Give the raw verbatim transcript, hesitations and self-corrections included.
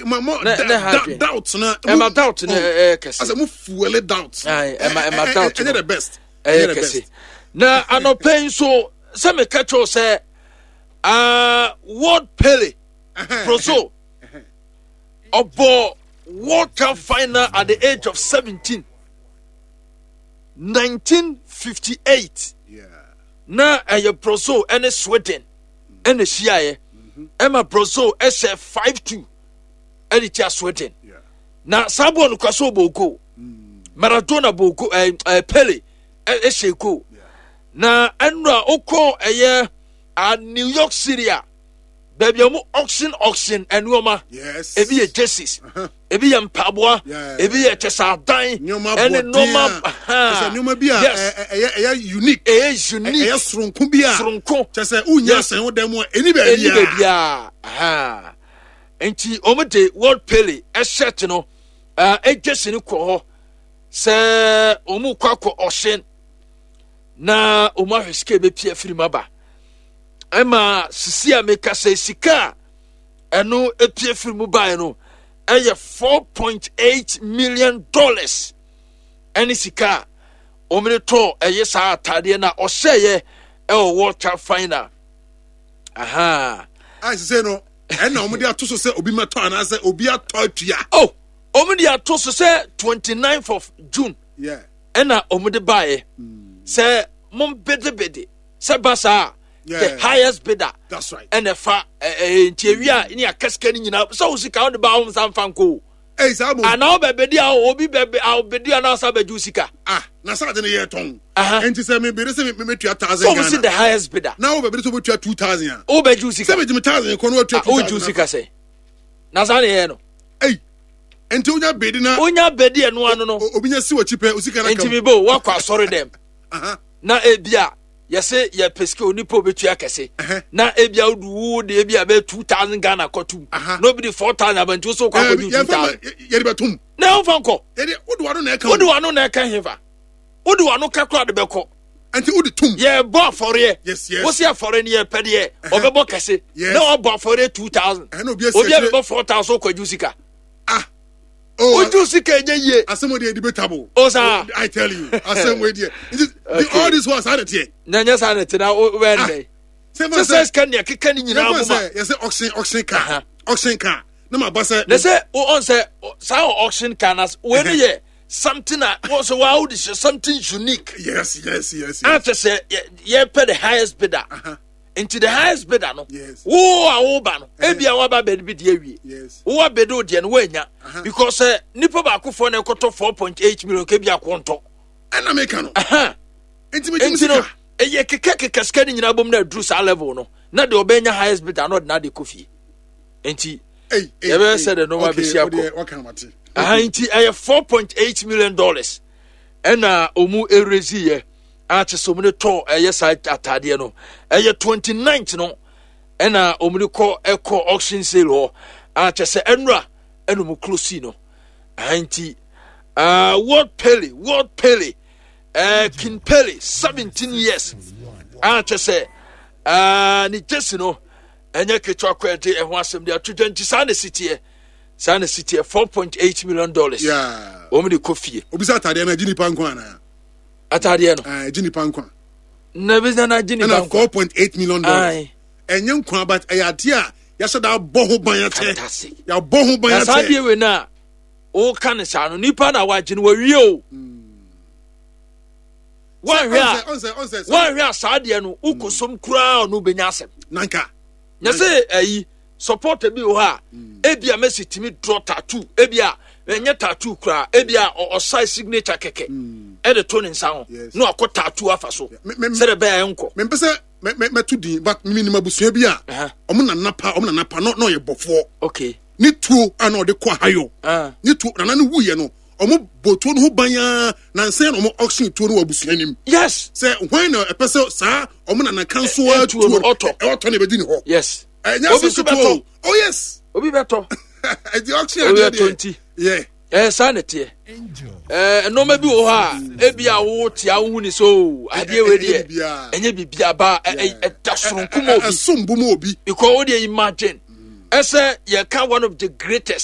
Ma mo Ne- ne ha adwene. Doubt na Ɛma doubt no ɛyɛ kɛse. Asɛ mo fuel doubt. Aye, ɛma- ɛma doubt ɛnyɛ no. The best. Ɛyɛ the kɛse. best. Na anɔpɛ yi nso sɛ meka kyerɛw sɛ uh, World Pele, Brazil, ɔbɔ World Cup final at the age of seventeen, nineteen fifty-eight. Yeah. Na ɛyɛ Brazil ɛne Sweden ɛna hyiaeɛ, ɛma Brazil ɛhyɛ five two ɛde tia Sweden. Yeah. Na saa bɔɔl no kora so ɔbɔ goal, Maradona bɔ goal, ɛɛ ɛɛ Pele ɛ- ɛhyɛ goal. Yeah. Na ɛnura okɔ ɛyɛ a New York City a baabi a wɔn auction auction nneɛma. Yes. Ebi yɛ jerseys, ebi yɛ mpaboa, Yeah. ebi yɛ kyɛsaadan nneɛma ɛne abɔden nneɛma a kyɛ sɛ nneɛma bi a yes ɛ- ɛ- ɛyɛ ɛyɛ unique. Ɛyɛ unique. Ɛyɛ soronko bi a soronko. Kyɛ sɛ wonya Yes. sɛn wo dan mu a ɛni ɛni baabi a baabi a nti wɔn de World Pele ɛhyɛ no ɛɛ jersey no kɔ hɔ sɛ wɔn kɔ akɔ ɔhyɛn na wɔn ahwɛ sika ebepie afiri mu aba. Ɛma sisi a meka sɛ sika a ɛno epie firi mu baeɛ no ɛyɛ four point eight million dollars, ɛne sika a wɔn de tɔɔ ɛyɛ saa ataadeɛ na ɔhyɛeɛ ɛwɔ World Cup final aha. A sise no ɛna wɔn de ato so sɛ obi mɛtɔ anaasɛ obi atɔ atua? Oh, wɔn de ato so sɛ twenty-ninth of June Yeah. ɛna wɔn de baeɛ sɛ mo bidibidi sɛ ba saa, Yeah. the highest bidder That's right. ɛna ɛfa ɛɛ nti ewia ne akɛsika no nyinaa sɛ o sika wɔde ba wɔn nsa nfa nko o. Ɛyi saa mo. Anaa ɔbɛbɛdi a obi bɛbɛ a ɔbɛdi a n'asa bɛgye o sika. Ah, na saa de ne yɛ tɔn. Aha. Nti sɛ mi bere sɛ mi mi tua thousand So wɔn si Ghana the highest bidder. Na wo bɛ bere sɛ o bɛ tua two thousand a O bɛgye o sika. Sɛ mi jimi thousand kɔ na o tua Ah, two o thousand. gye o sika sɛ na saa ne yɛ no. Ɛyi, nti o nya bedi na onya bɛdi ɛno ano no. o- obi nya si wɔ akyi pɛ, o sika na Nti kam. mi bo wakɔ asɔre dɛm Aha. na ebi a yɛsɛ yɛpɛ sika, onipa obetua kɛse Ɛhɛ. na ebi a odu wo de ebi a bɛ two thousand Ghana kɔtum Aha. na obi de four thousand abanti so kɔ Ɛɛ, akɔdu two yɛn fa ma thousand yɛde bɛ tum. Na ɛnfa nkɔ. Yɛde o de wa no na ɛka. Wode wano na ɛka hefa? Wode wano ka kora de bɛkɔ. Nti o de tum. Yɛbɔ afɔreɛ. Yes, yes. Wosi afɔreɛ no, yɛpɛ deɛ ɔbɛbɔ kɛse Yes. na wabɔ afɔreɛ two thousand. Ɛhɛ, na obi asi Obi a akyire. bɛbɔ four thousand kɔgye sika. Ah, oh. Wogye sika ɛnyɛ yie. Asɛm o deɛ, debatable. O saa. I tell you, asɛm o deɛ, nti Okay. all this while saa de teɛ. Na ɛnyɛ saa ne te na wobɛyɛ ne dɛn? Sɛ sɛ sɛ sika nea keka ne nyinaa yɛn boma. sɛ yɛsɛ auction auction car, Aha. auction car na ma ba sɛ Na sɛ wo ɔn sɛ ɔ- saa auction car na wei no yɛ something a wɔn sɛ wɔn de hyɛ something unique. yes yes yes yes A kyɛ sɛ yɛ yɛpɛ the highest bidder. Aha. Nti the highest bidder no, Yes. wo a woba no, ebi a waba bɛdi bi di awie, Yes. wo abɛdi o deɛ no woanya Aha. because sɛ nipa baakofoɔ na ɛkɔtɔ four point eight million kebi akɔntɔ. Ɛna meka no. Aha. Nti mi gye mi Nti no sika. Ɛyɛ keka keka sika no nyinaa bom na aduru saa level no na deɛ ɔbɛnya highest bidder na ɔde n'ade kɔ fie. Nti Ei, ei, yɛbɛyɛ ei. sɛ de nneɛma Okay, bɛsi akɔ. o deɛ, waka na mate. Aha, nti ɛyɛ four point eight million dollars ɛna ɔmu erezi yɛ a kyɛ sɛ ɔmu de tɔ ɛyɛ saa ataadeɛ no. Ɛyɛ twenty ninth no ɛna ɔmu de kɔ ɛkɔ auction sale hɔ a kyɛ sɛ ɛnura ɛna ɔmu close no. Aha, nti uh, World Pele, World Pele, uh, King Pele, seventeen years a kyɛ sɛ uh, ne jersey no ɛnyɛ ketewa kɔ. Ɛde ɛho asɛm de ato dwa. Nti saa na si teɛ, saa na si teɛ, four point eight million dollars Yeah. wɔn de kɔ fie. Obi sɛ ataadeɛ no agye nipa nkwa anaa? Ataadeɛ no. Ah, agye nipa nkwa. Na ebi sɛ na gye nipa ɛna nkwa. four point eight million dollars. Aye. Ɛnyɛ nkwa, but ɛyɛ adeɛ a yɛahyɛ da abɔ ho ban akyɛ. Fantastic. Yɛabɔ ho ban Na saa akyɛ. adeɛ wei na wɔka ne saa no, nipa na wagye no wawie o. Wɔnhwɛ a ɔnsɛ ɔnsɛ wɔnhwɛ a saa adeɛ no wokɔ koraa, ɔno bɛnya asɛm. Nanka. Na sɛ ayi supporter bi wɔ hɔ a ebi a Messi tumi draw tattoo, ebi a ɛnyɛ tattoo koraa, ebi a ɔ- ɔsae signature kɛkɛ ɛde to ne nsa ho Yes. na wakɔ tattoo afa so Me- me- sɛdeɛ ɛbɛyɛ nkɔ. Mempɛ sɛ mɛ- mɛ- mɛto din, but menim abusua bi a Aha. ɔmo nana pa, ɔmo nana pa na na ɔyɛ bɔfoɔ. Okay ne tuo a na ɔde kɔ ahayɔ, Ah. ne tuo nana no wuyɛ no, ɔmo bɔ tuo no ho ban aa nansa na ɔmo auction tuo no wɔ abusua nim yes sɛ hwan na ɛpɛ sɛ saa ɔmo nana kan so Ɛ- a ɛ, tuo no ɔtɔ. ɛ- ɔtɔ na ɛbɛdi ne hɔ. Yes ɛnyɛ Obi asɛm nso ketewa bɛtɔ. o. Oh yes. Obi bɛtɔ. Ɛdi auction Obi adeɛ bɛtɔ deɛ. nti yeah ɛɛ saa na teɛ. Ɛɛ nneɛma bi wɔ hɔ a ebi a wo te a wohu ni so adeɛ wei ɛnyɛ deɛ biribiara. Ɛnyɛ biribiara ba ɛ- ɛ- ɛda soronko ma obi. Ɛsom bo ma obi. Because wo deɛ, imagine ɛsɛ yɛka one of the greatest